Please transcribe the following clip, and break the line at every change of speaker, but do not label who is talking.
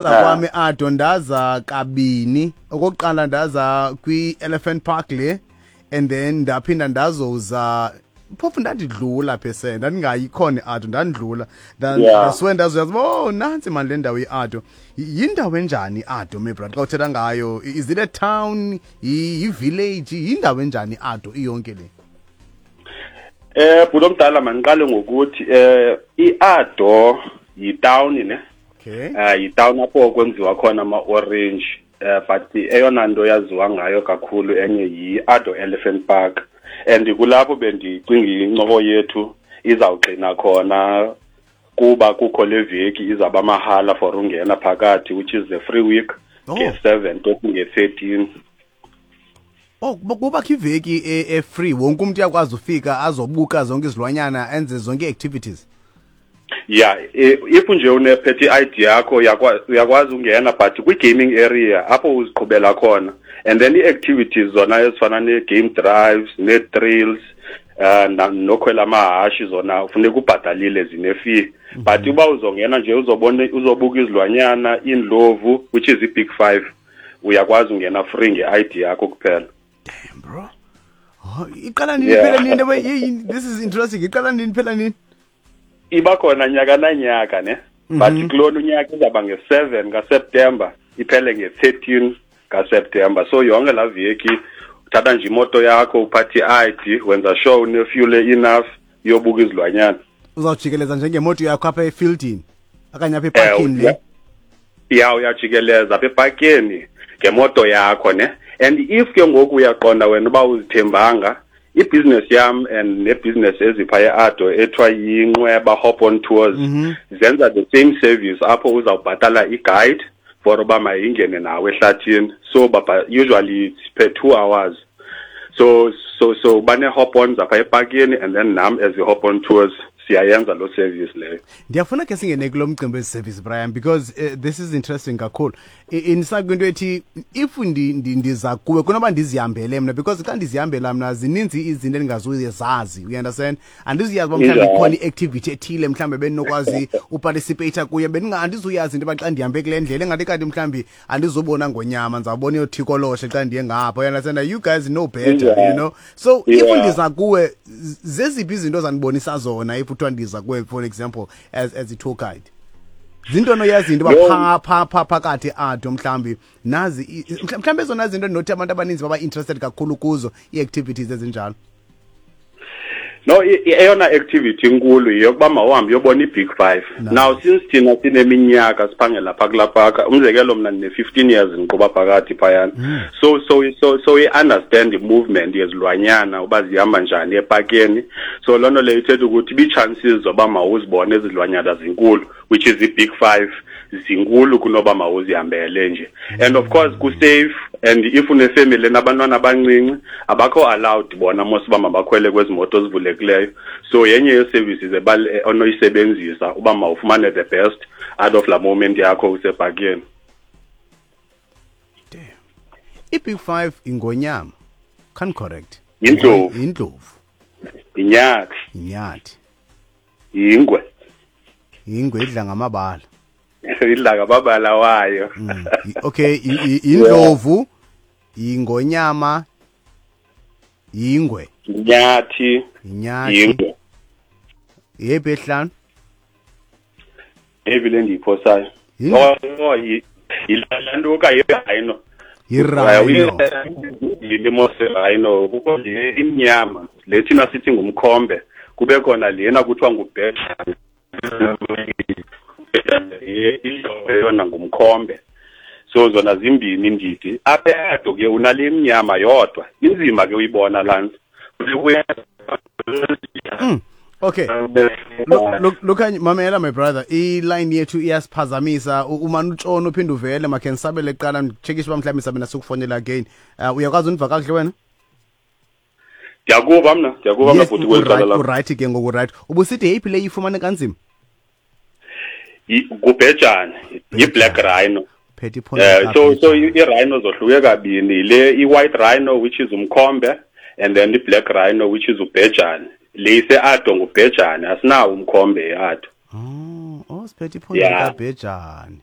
Kwami Ado, ndaza kabini. Okokuqala ndaza kwi-Elephant Park le, and then ndaphinda ndazoza phofu ndandidlula phese, ndandingayi khona i-Ado, ndandidlula. Ndasuke ndazoyazi uba, oh, nantsi mani le ndawo i-Ado. Yindawo enjani i-Ado, my brother, xa uthetha ngayo? Is it a town, yi-village, yindawo enjani i-Ado iyonke le?
Bhuti omdala, mandiqale ngokuthi i-Ado yitawuni ne. Yitawuni apho kwenziwa khona ama-orange, but eyona nto yaziwa ngayo kakhulu enye yi-Ado Elephant Park, and kulapho bendicinga incoko yethu izawugxina khona, kuba kukho le veki izawuba mahala for ungena phakathi, which is the free week nge-7 toku nge-13.
Oh, kubakho iveki e-free, wonke umuntu uyakwazi ufika azobuka zonke izilwanyana, enze zonke ii-activities.
Yeah, if nje unephethe i-ID yakho, uyakwazi ungena, but kwi-gaming area apho uziqhubela khona, and then ii-activities zona ezifana nee-game drives, nee-trails, nokhwela amahashi, zona funeka ubhatalile, zine-fee. But uba uzongena nje uzobona, uzobuka izilwanyana, iindlovu, which is i-Big Five, uyakwazi ungena free nge-ID yakho kuphela.
Damn, bro. Oh, iqala nini? Iphela nini? This is interesting. Iqala nini, iphela nini?
Iba khona nyaka nanyaka ne, but kulona unyaka izawuba nge-7 kaSeptemba, iphele nge-13 kaSeptemba. So yonke laa veki uthatha nje imoto yakho, uphathe i-ID, wenza sure une-fuel enough, uyobuka izilwanyana.
Uzawujikeleza njengemoto yakho apha efieldini okanye apha epakini le?
Ya, uyajikeleza apha epakeni ngemoto yakho ne. And if ke ngoku uyaqonda wena uba uzithembanga, ibhizinesi yam and nebhizinesi ezipha e-Ado ethiwa yiNqweba Hop On Tours zenza the same service, apho uzawubhatala i-guide for uba mayingene nawe ehlathini. So baba, usually it's per 2 hours. So bane-hop ons apha epakini, and then nam as i-Hop On Tours siyayenza loo service leyo.
Ndiyafuna ke singene kulo mcimbi wezi-service, Brian, because this is interesting kakhulu. Indisa kwinto ethi if ndiza kuwe kunoba ndizihambele mna, because xa ndizihambela mna zininzi izinto endingazuzazi, you understand? Andizuyazi uba mhlawumbi ikhona i-activity ethile mhlawumbi bendinokwazi uparticipate kuyo, andizuyazi into yoba xa ndihambe kule ndlela engathi kanti mhlawumbi andizubona ngonyama, ndizawubona iyothikoloshe xa ndiye ngapha, you understand? You guys know better, you know? So if ndiza kuwe, zeziphi izinto zandibonisa zona if kuthiwa ndiza kuwe, for example, as i-tour guide? Zinto onoyazi into yoba pha pha pha phakathi Ado mhlawumbi nazi mhlawumbi ezona zinto endinothi abantu abaninzi baba interested kakhulu kuzo, ii-activities ezinjalo.
No, eyona activity inkulu yeyokuba mawuhambe uyobona i-Big Five.
Nice.
Now, since thina sineminyaka siphangela phaa kulaa paka, umzekelo mna ndine-15 years ndiqhuba phakathi phayana, so i-understand i-movement yezilwanyana uba zihamba njani epakeni. So loo nto leyo ithetha ukuthi ii-chances zoba mawuzibone ezilwanyana zinkulu, which is i-Big Five, zinkulu kunoba mawuzihambele nje. And of course kusafe, and if unefamily nabantwana abancinci, abakho allowed bona mos uba mabakhwele kwezi moto zivulekileyo. So yenye yee-services onoyisebenzisa uba mawufumane the best out of laa moment yakho usepakeni.
Damn. I-Big Five ingonyama, can correct?
Yindlovu.
Yindlovu.
Inyathi.
Inyathi.
Yingwe.
Yingwe idla ngamabala.
Idla ngamabala wayo.
Okay, indlovu, ingonyama, yingwe.
Inyathi.
Inyathi.
Yingwe.
Yephi ehlanu?
Evi le ndiyiphosayo.
Yini?
Oh, yilantuka, yi-rhino.
Yi-rhino.
Yilimo se-rhino, kukho le imnyama le thina sithi ngumkhombe, kube khona lena kuthiwa ngubhejane, yona ngumkhombe. So zona zimbini indidi. Apha eAdo ke unale imnyama yodwa, inzima ke uyibona laa nto.
Okay. Look, mamela, my brother, i-line yethu iyasiphazamisa. Umane utshona uphinde uvele. Makhe ndisabele kuqala, nditshekishe uba mhlawumbi sabe nasikufonela again. Uyakwazi undiva kakuhle wena?
Ndiyakuva mna, ndiyakuva mna, bhuti, kweli cala lakho.
Uright ke ngoku, right. Ubusithi yeyiphi le ifumane kanzima?
Ngubhejane, yi-black rhino.
Phethe iphondo.
So i-rhino zohluke kabini, yile i-white rhino, which is umkhombe, and then i-black rhino, which is ubhejane. Le ise-Ado ngubhejane, asinawo umkhombe e-Ado.
Oh, siphethe iphondo likabhejane.